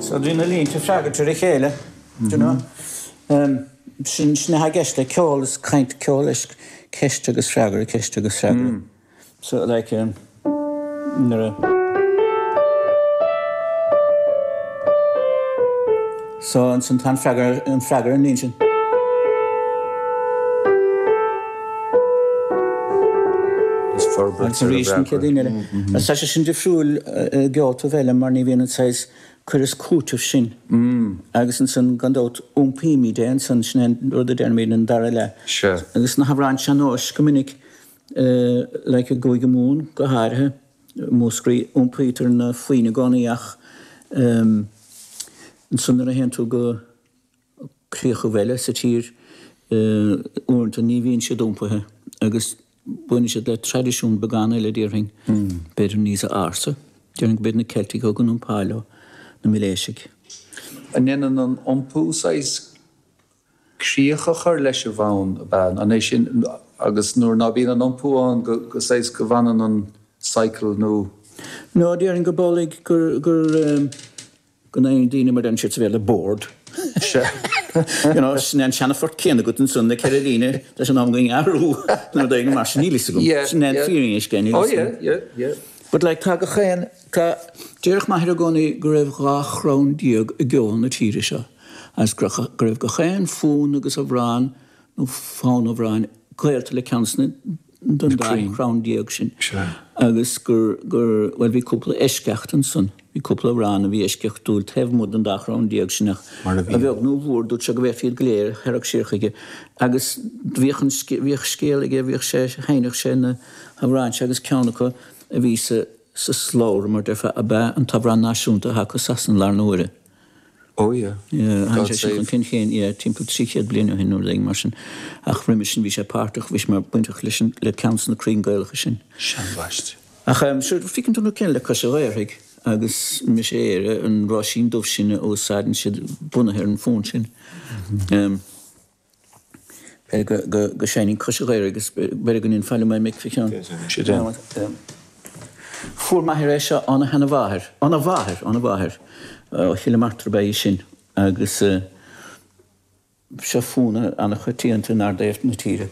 So bhí na línte ag freagairt ar a chéile, do you know. Sin, sin atá i gceist le ceol, is caint ceol is ceist agus freagra, ceist agus freagra. So like nuair a. So ansan tá an freagra, an freagra an líne sin. Is forbairt Agus arís an chéad líne eile. Agus tá sé sin difriúil i gceoltaibh eile mar ní bhíonn an saghas cur is cúiteamh sin. Agus ansan gan dabht iompaímid é ansan, sin é an rud a deirimid an dara leath. Agus na hamhráin sean-nóis go minic like i gCúige Mumhan go háirithe, Múscraí, iompaítear na foinn i gcónaí ach ansan nuair a théann tú go críochaibh eile sa tír uaireanta ní bhíonn siad iompaithe agus baineann siad le traidisiún beagán eile déarfainn, b'fhéidir níos ársa. Déarfainn go mb'iad na Ceiltigh a thug an iompáil leo, na Miléisigh. An ndéanann an iompú saghas críoch a chur leis an bhfonn, ab ea? An é sin, agus nuair ná bíonn an iompú ann, go, go saghas, go bhfanann an cycle nó. No, déarfainn gurb amhlaidh gur, gur, go n-éiríonn daoine, mar deireann siad sa Bhéarla, bored. Sea. You know, sin é an seana-phort céanna agat ansan, na ceithre líne, tá sé in am againn athrú, nó rud éigin mar sin, níl fhios agam. Yeah, Sin é an yeah. fírinne scéil, níl Oh fhios yeah, agam. yeah, yeah. But like, tá gach aon, tá, déarfadh m'athair i gcónaí go raibh 12 chrann i gceol na tíre seo agus go raibh gach aon fonn agus amhrán nó fonn amhráin gaolta le ceann de den dá chrann déag sin agus gur, gur, bhuel bhí cúpla eisceacht ansan, bhí cúpla amhrán a bhí eisceachtúil taobh amuigh den dá chrann déag sin ach Mar a a bhí. bheag nó a mhór dúirt sé go bhféadfaí iad go léir a tharrac siar chuige agus bhíodh an, bhíodh scéal aige, bhíodh sé, sheinneadh sé na hamhráin seo agus ceann acu a bhí sa sa slabhra, mar déarfá, ab ea an t-amhrán náisiúnta atá acu i Sasana i láthair na huaire. Oh yeah. Yeah, tháinig God sé sin chun save. cinn féin, yeah, timpeall 300 bliain ó shin nó rud éigin mar sin. Ach roimhe sin bhí sé páirteach, bhí sé mar bainteach leis an, le ceann de na crainn Gaelacha sin. Seanbhaist. Ach em, sure, feiceann tú an rud céanna le Cois a' Ghaorthaidh agus Mise Éire, an Róisín Dubh sin a úsáideann siad bunaithe ar an bhfonn sin. Em. B'fhéidir go seinnfinn Cois an Ghaorthaidh agus b'fhéidir go ndéanfá liom é mic fá cheann. Fuair m'athair é seo óna sheana-mháthair, óna mháthair, óna mháthair, ó Chill Martra ab ea í sin agus seo fonn an-choitianta in ardtaobh na tíre.